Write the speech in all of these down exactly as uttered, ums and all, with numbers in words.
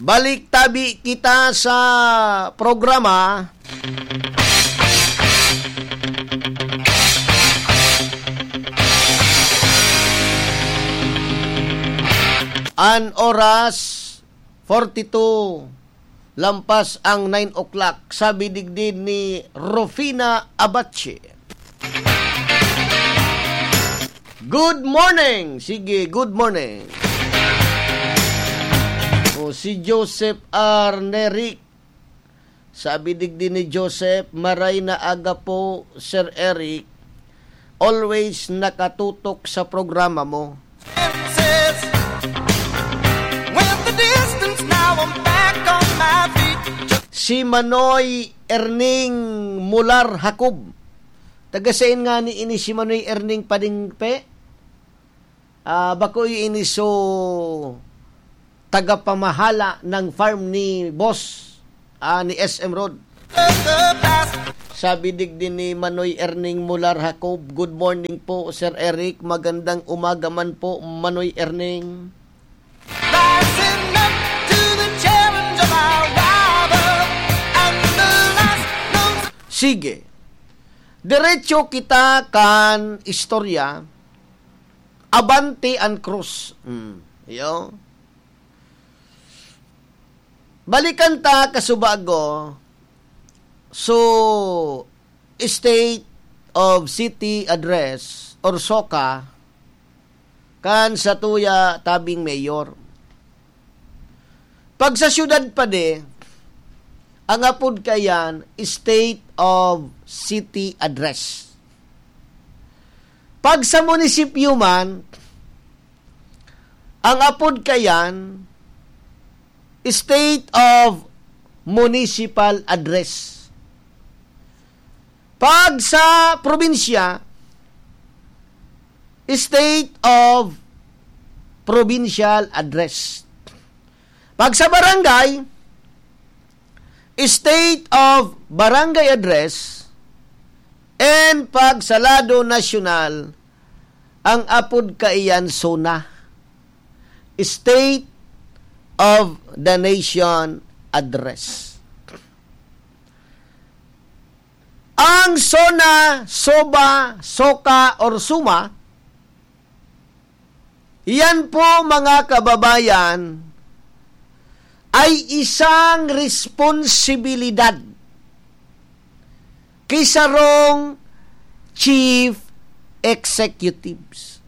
Balik tabi kita sa programa. An oras, forty-two, lampas ang nine o'clock. Sabi digdi ni Rufina Abache. Good morning! Sige, good morning. O, si Joseph R. Neric. Sabi digdi ni Joseph, "Maray na aga po, Sir Eric. Always nakatutok sa programa mo." With the distance, now I'm back on my feet. Si Manoy Erning Mular Jacob. Taga sain nga ni ini si Manoy Erning Padingpe? Ah, bako iyo ini so tagapamahala ng farm ni boss, ah, ni S M Road. Sabi digdi ni Manoy Erning Mular Jacob, "Good morning po, Sir Eric. Magandang umaga man po, Manoy Erning." Rising up to the challenge of our rival and the last known. Sige. Diretso kita kan istorya. Abante an krus. Mm. Iyo. Balikan ta kasubago. So, State of City Address or SOCA kan satuya tabing mayor. Pag sa syudad pa di, ang apod kaiyan, State of City Address. Pag sa munisipyo man, ang apod kaiyan, State of Municipal Address. Pag sa probinsya, State of Provincial Address. Pag sa barangay, State of Barangay Address. And pag sa lado nasyonal, ang apod kaiyan SONA, State of the Nation Address. Ang SONA, SOBA, SOCA, or SUMA, iyan po, mga kababayan, ay isang responsibilidad ki sarong chief executives.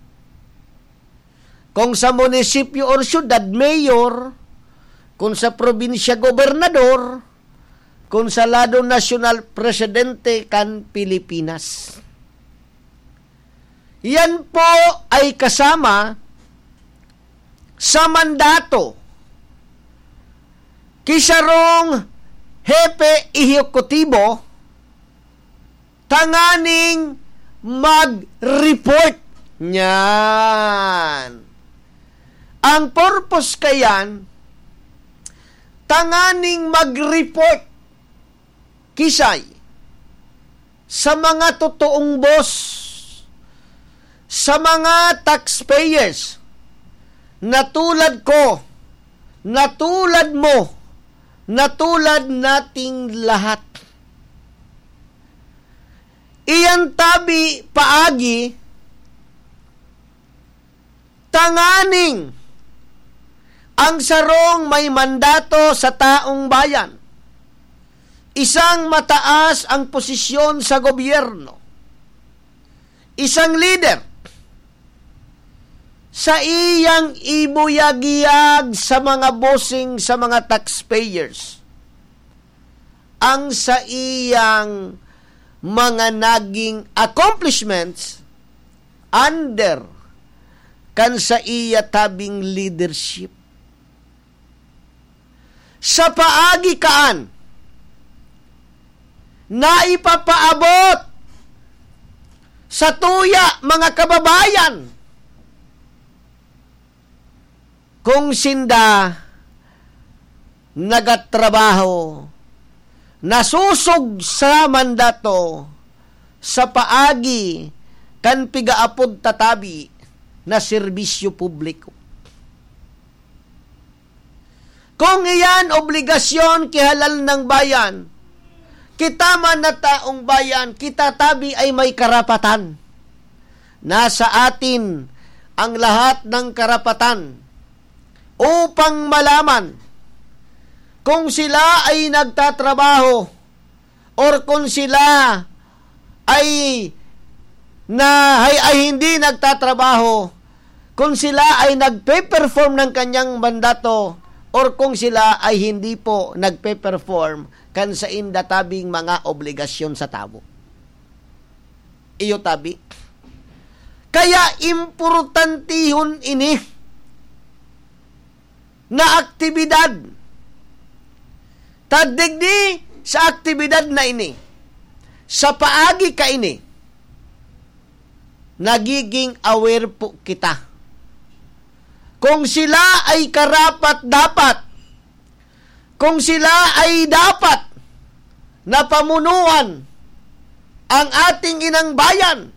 Kung sa munisipyo or syudad, mayor, kung sa probinsya, gobernador, kung sa lado nasyonal, presidente kan Pilipinas. Iyan po ay kasama sa mandato ki sarong hepe ehekutibo tanganing mag-report. Niyan. Ang purpose kayan, tanganing mag-report kisay sa mga totoong boss, sa mga taxpayers, na tulad ko, na tulad mo, na tulad nating lahat. Iyan tabi paagi tanganing ang sarong may mandato sa taong bayan, isang mataas ang posisyon sa gobyerno, isang lider, saiyang ibuyagyag sa mga bossing, sa mga taxpayers, ang saiyang mga naging accomplishments under kan saiya tabing leadership. Sa paagi kaan na ipapaabot sa tuya, mga kababayan, kung sinda nagatrabaho, nasosog sa mandato sa paagi kan pigaapod tatabi na serbisyo publiko. Kung iyan obligasyon ki halal ng bayan, kita man na taong bayan, kita tabi ay may karapatan. Nasa atin ang lahat ng karapatan upang malaman kung sila ay nagtatrabaho or kung sila ay na, ay, ay hindi nagtatrabaho, kung sila ay nagpe-perform ng kanyang mandato or kung sila ay hindi po nagpe-perform kan sainda tabing mga obligasyon sa tawo. Iyo tabi. Kaya importantihon ini na aktibidad. Ta digdi sa aktibidad na ini, sa paagi kaini, nagiging aware po kita. Kung sila ay karapat-dapat, kung sila ay dapat na pamunuan ang ating inang bayan,